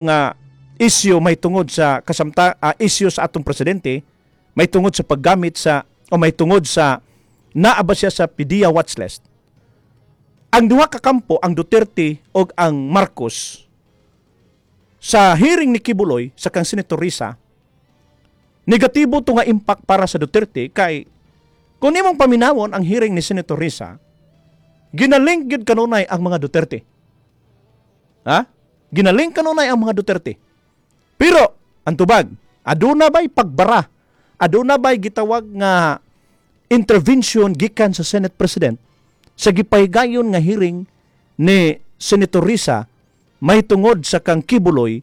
Nga issue may tungod sa kasamta issue sa atong presidente may tungod sa paggamit sa o may tungod sa naa ba siya sa PDEA watchlist. Ang duha ka kampo, ang Duterte ug ang Marcos, sa hearing ni Quiboloy sa kang Senator Risa, negatibo to nga impact para sa Duterte kay kung imong paminawon ang hearing ni Senator Risa, ginalink gyud kanunay ang mga Duterte. Ha? Ginalink kanunay ang mga Duterte. Pero ang tubag, aduna ba'y pagbara? Aduna ba'y gitawag nga intervention gikan sa Senate President sa gipahigayon nga hearing ni Senator Risa may tungod sa kang Quiboloy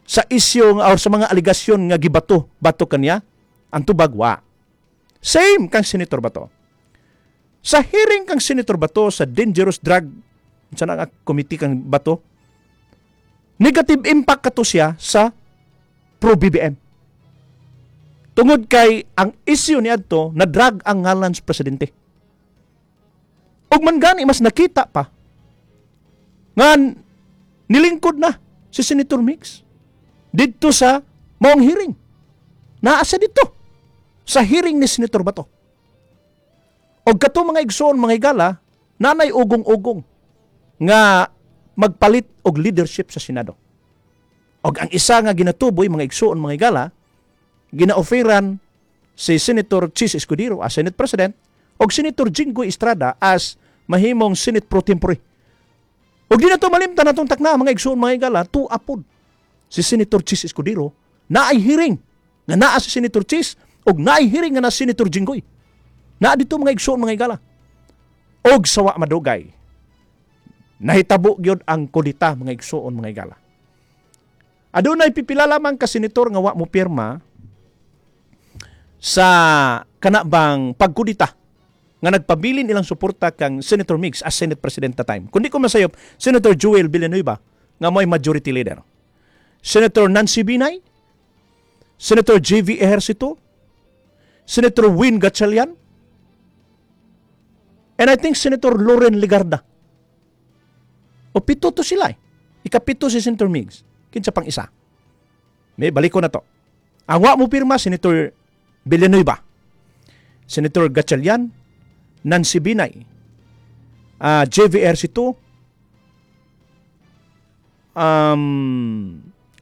sa isyu or sa mga alegasyon nga gibato bato kaniya? Ang tubag, wa. Same kang Senator Bato. Sa hearing kang Senator Bato sa dangerous drug sa nga committee kang Bato, negative impact kato siya sa pro BBM. Tungod kay ang issue ni adto na drug ang ngalan sa presidente. Ug man gani mas nakita pa nga nilingkod na si Senator Migz didto sa maong hearing. Naa siya dito sa hearing ni Senator Bato. Og kato, mga igsoon, mga higala, nanay ugong-ugong nga magpalit og leadership sa Senado. Og ang isa nga ginatuboy, mga igsoon, mga higala, gina-offeran si Senator Chiz Escudero as Senate President og Senator Jinggoy Estrada as mahimong Senate Pro Tempore. Og di na to malimtan natong takna, mga igsoon, mga higala, tuapod si Senator Chiz Escudero naay hearing nga naa si Senator Chiz og naay hearing nga na Senator Jinggoy. Naa dito, mga igsoon, mga higala. Og sawa madugay, nahitabo gyud ang kudita, mga igsoon, mga higala. Adunay pipila lamang ka senator nga wa mo pirma sa kana bang pagkudita nga nagpabilin ilang suporta kang Senator Migz as Senate President that time. Kung di ko masayop, Senator Joel Villanueva nga mo'y majority leader. Senator Nancy Binay, Senator J.V. Ejercito, Senator Win Gatchalian, and I think Senator Loren Legarda. O pito to sila eh. Ikapito si Senator Migz. Kinsa pang isa? May balik ko na to. Ang wa mo pirma, Senator Villanueva, Senator Gatchalian, Nancy Binay, JV Ejercito,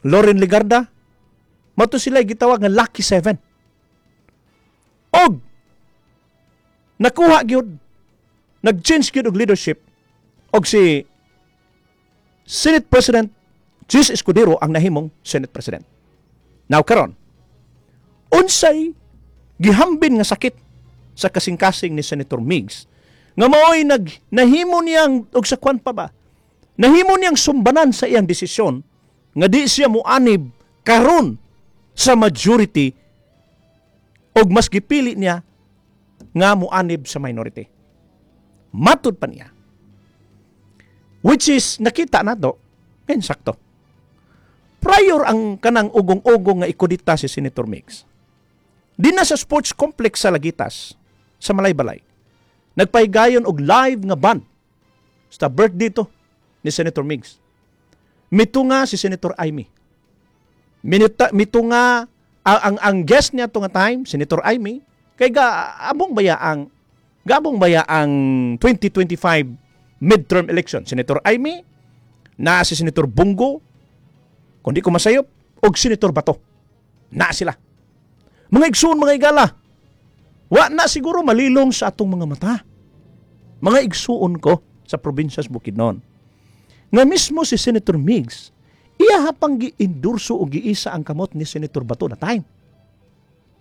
Loren Legarda, mao to sila gitawag nga Lucky Seven. Og nakuha gyud, nag-change gyud og leadership og si Senate President Chiz Escudero ang nahimong Senate President. Now karon, unsay gihambin nga sakit sa kasing-kasing ni Senator Migz nga maoy nag nahimo niyang og sa kwan pa ba? Nahimo niyang sumbanan sa iyang desisyon nga di siya muanib karon sa majority og mas gipili niya nga muanib sa minority? Matud pa niya. Which is nakita nato ngayon sakto. Prior ang kanang ugong-ugong nga ikudita si Senator Migz, di na sa sports complex sa Lagitas, sa Malaybalay, nagpahigayon og live nga band sa birthday to ni Senator Migz. Mito nga si Senator Imee. Minita, mito nga ang guest niya to nga time, Senator Imee, kay gaabong baya ang 2025 midterm election. Senator Imee, naa si Senator Bong Go, kung di ko masayop, og Senator Bato. Naa sila. Mga igsoon, mga igala, wa na siguro malilong sa atong mga mata, mga igsuon ko sa probinsya sa Bukidnon, nga mismo si Senator Migz, iya pang gi-endorso o giisa ang kamot ni Senator Bato na time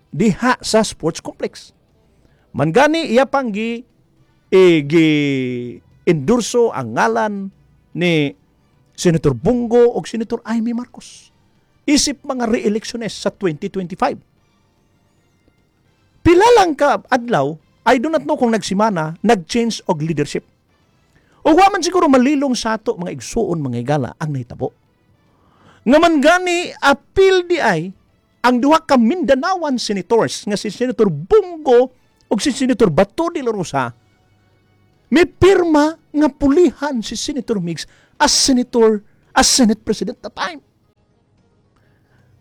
diha sa sports complex. Man gani iya pang gi endorso ang ngalan ni Senator Bong Go o Senator Imee Marcos isip mga re-electiones sa 2025. Pila lang ka adlaw, I do not know kung nagsimana, nag-change og leadership. O wa man siguro malilong sa ato, mga igsuon, mga higala, ang nahitabo. Nga man gani apil di ay ang duha ka Mindanaoan senators nga si Senator Bong Go ug si Senator Bato de la Rosa may pirma nga pulihan si Senator Migz as senator, as Senate President that time.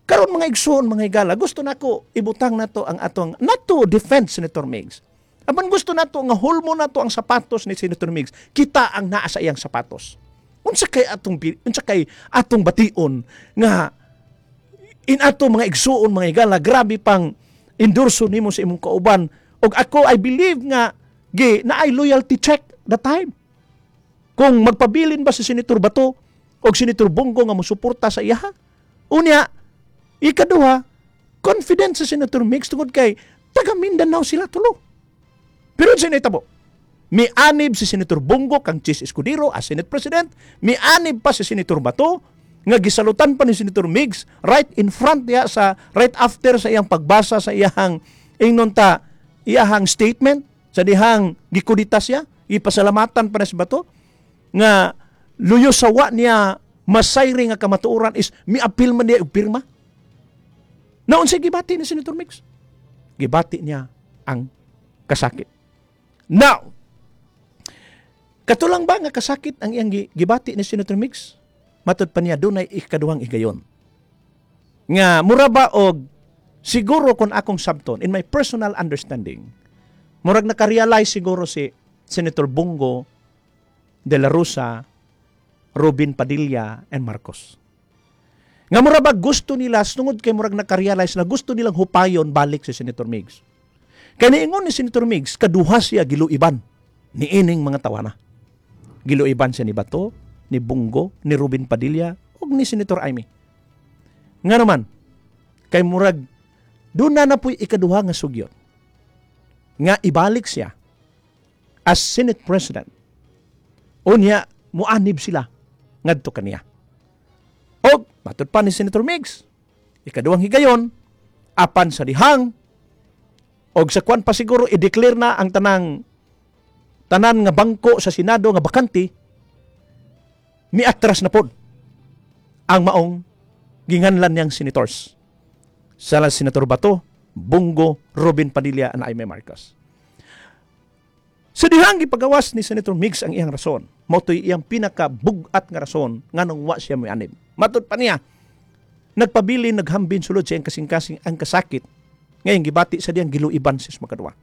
Karon, mga igsoon, mga higala, gusto nako ibutang nato ang atong, not to defend Senator Migs. Apan gusto nato nga hulmo nato ang sapatos ni Senator Migs. Kita ang naa sa iyang sapatos. Unsa kay atong bation nga in ato, mga igsuon, mga higala, grabe pang endorso nimo sa imong kauban? Og ako, I believe nga gi naay loyalty check the time kung magpabilin ba si Senator Bato o Senator Bong Go nga mosuporta sa iyaha. Unya, ikaduha, confident sa Senator Migs tungod kay taga Mindanao sila tulo. Pero sa nahitabo, mianib si Senator Bong Go kang Chiz Escudero as Senate President, mianib pa si Senator Bato nga gisalutan pa ni Senator Migs right in front niya sa right after sa iyang pagbasa sa iyang, ingnon ta, iyahang statement sa dihang gikudita siya, ipasalamatan pa na si Bato nga luyo sa wa niya masayri nga kamatuoran is miapil man niya og pirma. Naunsa gibati ni Senator Migs? Gibati niya ang kasakit. Now, katulang ba nga kasakit ang iyang gibati ni Senator Migs? Matud pa niya, dunay ikaduhang higayon. Nga mura ba og siguro kung akong sabton, in my personal understanding, murag nakarealize siguro si Senator Bong Go, De La Rosa, Robin Padilla, and Marcos. Nga mura ba gusto nila, tungod kay murag nakarealize na gusto nilang hupayon balik si Senator Migs. Kay niingon ni Senator Migs, kaduha siya giluiban ni ining mga tawana. Giluiban siya ni Bato, ni Bong Go, ni Robin Padilla, ug ni Senator Imee. Nga naman, kay murag doon na na po'y ikaduha nga sugyot nga ibalik siya as Senate President. Unya, muanib sila ngadto kaniya. Og matud pa ni Senator Migs, ikaduhang higayon, apan sa dihang og sa kwan pa siguro i-declare na ang tanang tanan nga bangko sa Senado nga bakante, miatras na pod ang maong ginganlan niyang senators. Sala Senator Bato, Bong Go, Robin Padilla, and Imee Marcos. Sa dihang gipagawas ni Senator Migs ang iyang rason, mao to'y iyang pinakabugat nga rason nganong wa siya moanib. Matud pa niya, nagpabilin, naghambin sulod sa iyang kasing-kasing ang kasakit ngayong gibati sa diyang giluiban sa makadwa.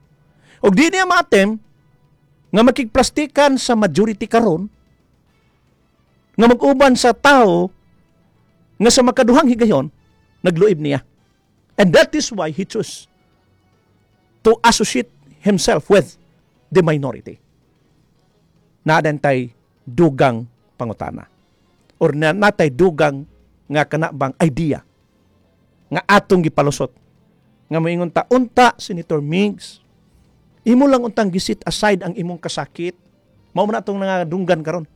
Og di niya maatem nga makigplastikan sa majority karon nga mag-uban sa tao nga sa makaduhang higayon nagluib niya. And that is why he chose to associate himself with the minority. Naa tay dugang pangutana or na natay dugang nga kana bang idea nga atong gipalusot nga moingon ta, unta Senator Migs, imo lang untang gi-set aside ang imong kasakit. Mao man atong nangadunggan karon.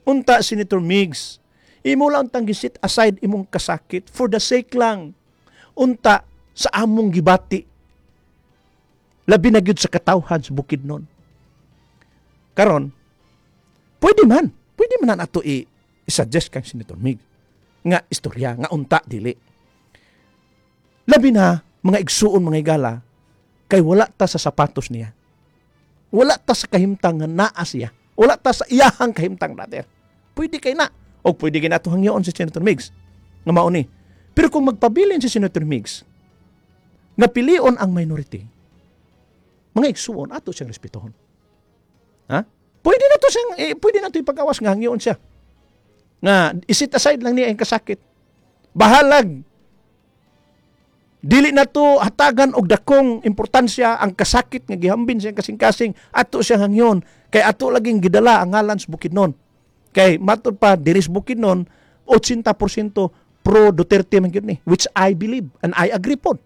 Unta Senator Migs, imo lang untang gi-set aside imong kasakit for the sake lang unta sa among gibati, labi na gyud sa katawhan sa Bukidnon karon. Pwede man na ato i-suggest kang Senator Mig nga istorya nga unta dili, labi na, mga igsuon, mga higala, kay wala ta sa sapatos niya, wala ta sa kahimtang nga naa siya, wala ta sa iyahang kahimtang, brother. Pwede kay na o pwede kay nato hangyoon si Senator Migs nga mao ni. Pero kung magpabilin si Senator Migs nga pilion ang minority, mga igsuon, ato siyang respetuhon, ha. Pwede na to ipagawas nga hangyoon siya nga i-set aside lang niya ang kasakit. Bahalag dili na to hatagan og dakong importansya ang kasakit nga gihambin siyang kasing-kasing, ato siyang hangyon kay ato laging gidala ang ngalan sa Bukidnon. Kay matud pa diri sa Bukidnon, 80% pro Duterte man gyud ni, which I believe and I agree pod.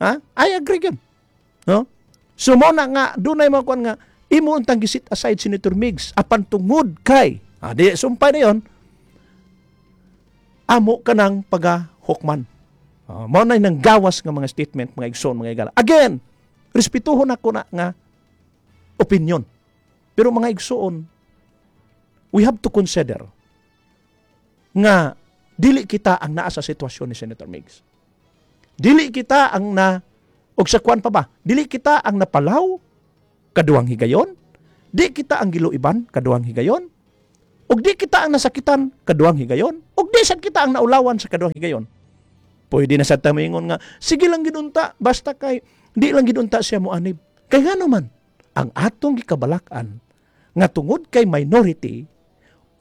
Ha, I agree gyud, no? So mo na nga dunay mga kuan nga imo untang gi-set aside, Senator Migs, apan tungod kay di sumpay na yon, amo ka ng pagahukman. Mao na nang gawas nga mga statement, mga igsoon, mga higala. Again, respetuhon ako na nga opinion. Pero mga igsoon, we have to consider nga dili kita ang naa sa sitwasyon ni Senator Migs. Dili kita ang na og sa kuan pa ba? Dili kita ang napalaw kaduhang higayon. Di kita ang giluiban kaduhang higayon. Ug di kita ang nasakitan kaduhang higayon. Ug di sad kita ang naulawan sa kaduhang higayon. Pwede na sa tamingon nga sige lang gid unta, basta kay di lang gid unta siya moanib. Kay ngano man ang atong gikabalak-an nga tungod kay minority,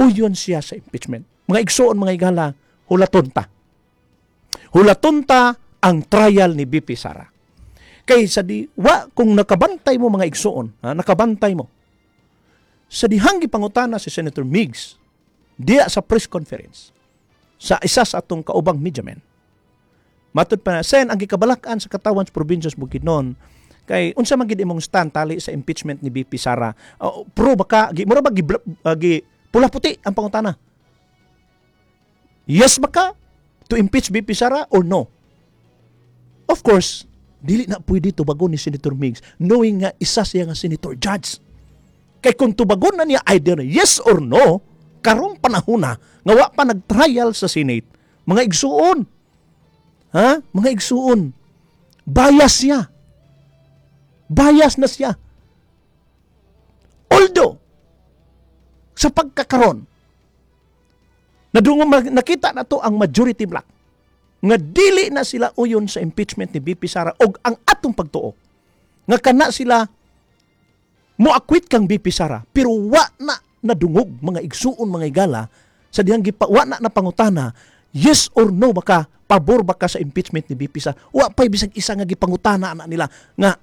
uyon siya sa impeachment. Mga igsuon, mga igala, hulaton ta. Hulaton ta ang trial ni VP Sara. Kay sa di wa kung nakabantay mo, mga igsuon, ha, nakabantay mo sa dihang gipangutana si Senator Migz diya sa press conference sa isa sa atong kaubang mediamen. Matud pa na, "Sen, ang gikabalak-an sa katawan sa probinsya sa Bukidnon kay unsa man gid imong stand tali sa impeachment ni VP Sara? Pro ba ka?" Gi mura ba gi, gi pula puti ang pangutana. Yes ba ka to impeach VP Sara or no? Of course, dili na pwede tubagon ni Senator Migz knowing nga isa siya nga senator judge. Kay kung tubagon na niya either yes or no, karong panahon na nga wa pa nag-trial sa Senate, mga igsuon. Ha? Mga igsuon. Bias siya. Bias na siya. Although, sa pagkakaron, nadungo nakita na to ang majority block nga dili na sila uyon sa impeachment ni VP Sara og ang atong pagtuo nga kana sila mo acquit kang VP Sara, pero wa na nadungog, mga igsuon, mga igala, sa dihang gipa, wa na napangutana yes or no baka, pabor ba ka sa impeachment ni VP Sara. Wa pa bisag isa nga gipangutana na nila nga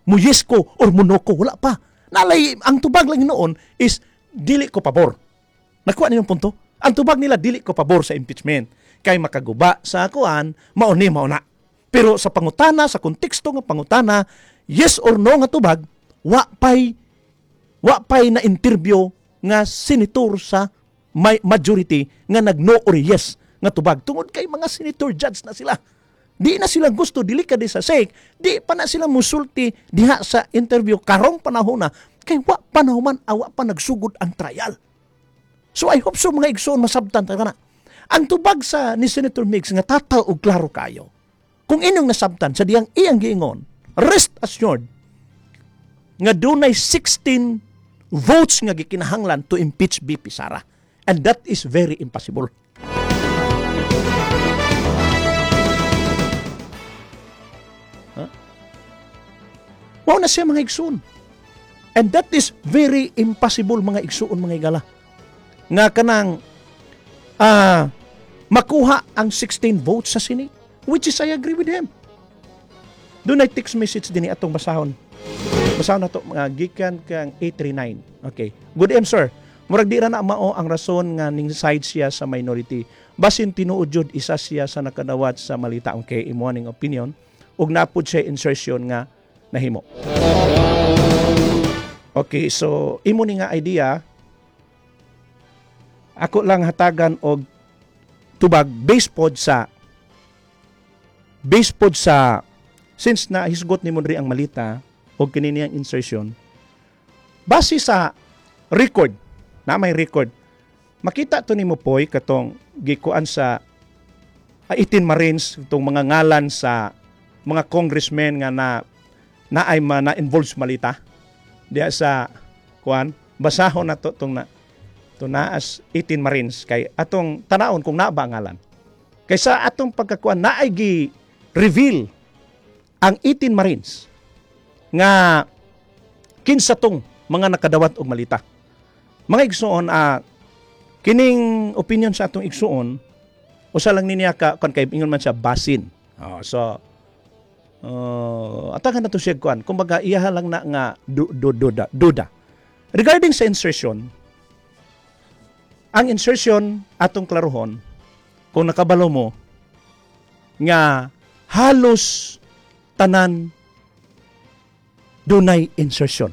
mo yes ko or mo no ko. Wala pa nalay. Ang tubag lang noon is dili ko pabor. Nakuha ninyong punto? Ang tubag nila, dili ko pabor sa impeachment kay makaguba sa kuan, mao ni mao na. Pero sa pangutana, sa konteksto nga pangutana, yes or no nga tubag, wa pay na interview nga senator sa may majority nga nag-no or yes nga tubag tungod kay mga senator judge na sila. Di na sila gusto, dili ka di sa sake, di pa na sila musulti diha sa interview karong panahon na kay wa pa nahuman, awa pa nagsugod ang trial. So I hope so, mga igsoon, masabtan ta na. Ang tubag sa ni Senator Migz nga tataw og klaro kayo. Kung inyong nasabtan sa diyang iyang giingon, rest assured nga dunay 16 votes nga gikinahanglan to impeach VP Sara. And that is very impossible. Huh? Mao na siya, mga igsoon. And that is very impossible, mga igsoon, mga igala, nga kanang makuha ang 16 votes sa Senate. Which is I agree with him. Dunay text message din atong basahon. Basahon na to, mga gikan kang 839. Okay. "Good AM, sir. Murag di ra na mao ang rason nga ning side siya sa minority. Basin tinuod jud isa siya sa nakadawat sa malita." Okay, imo ning opinion ug napud siya insertion nga nahimo. Okay, so imo ni nga idea, ako lang hatagan og tubag based pod sa since na hisgot ni diri ang malita og kini niyang insertion. Base sa record na may record, makita to nimo poy katong gikuan sa 18 Marines, itong mga ngalan sa mga congressmen nga na na ay ma, na involved sa malita diya sa kuan. Basahon na to tong na to naas 18 Marines kay atong tanaon kung naa ba ang ngalan. Kay sa atong pagkakuan, naay gi reveal ang 18 Marines nga kinsa tong mga nakadawat og malita. Mga igsuon, kining opinion sa atong igsuon, usa lang niya ka kon kay ingon man siya basin. Oh, so atakan na to siya kuan. Kumbaga iyaha lang na nga du, du, duda, duda. Regarding sa insertion, ang insertion atong klarohon, kung nakabalo mo nga halos tanan dunay insertion.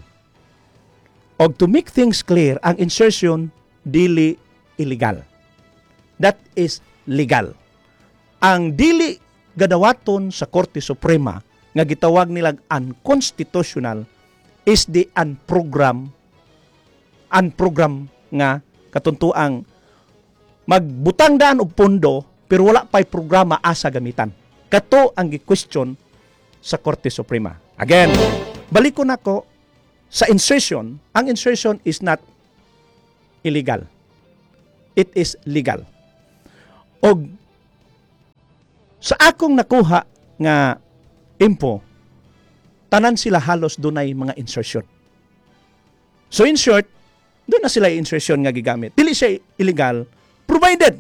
Og to make things clear, ang insertion dili illegal. That is legal. Ang dili gadawaton sa Korte Suprema nga gitawag nilang unconstitutional is the unprogram nga katuntuang magbutang daan og pondo pero wala pa'y programa asa gamitan. Kato ang gi-question sa Korte Suprema. Again, balik ko nako sa insertion. Ang insertion is not illegal. It is legal. Og Sa akong nakuha nga info, tanan sila halos dunay mga insertion. So in short, duna sila insertion nga gigamit. Dili siya illegal provided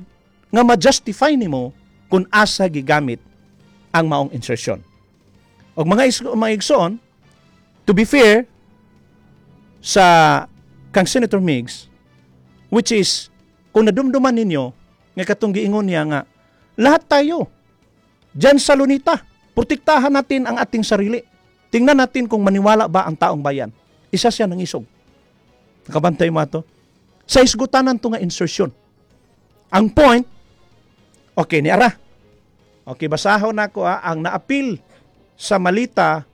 nga ma-justify nimo kung asa gigamit ang maong insertion. Og mga igsoon, to be fair sa kang Senator Migz, which is kung nadumduman ninyo nga katong giingon niya nga lahat tayo diyan sa Luneta, protektahan natin ang ating sarili. Tingnan natin kung maniwala ba ang taong bayan. Isa siya nangisog. Nakabantay mo ato? Sa isgutanan to nga insertion. Ang point, okay, ni ara. Okay, basahon nako ang naapil sa malita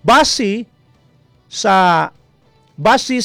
base sa base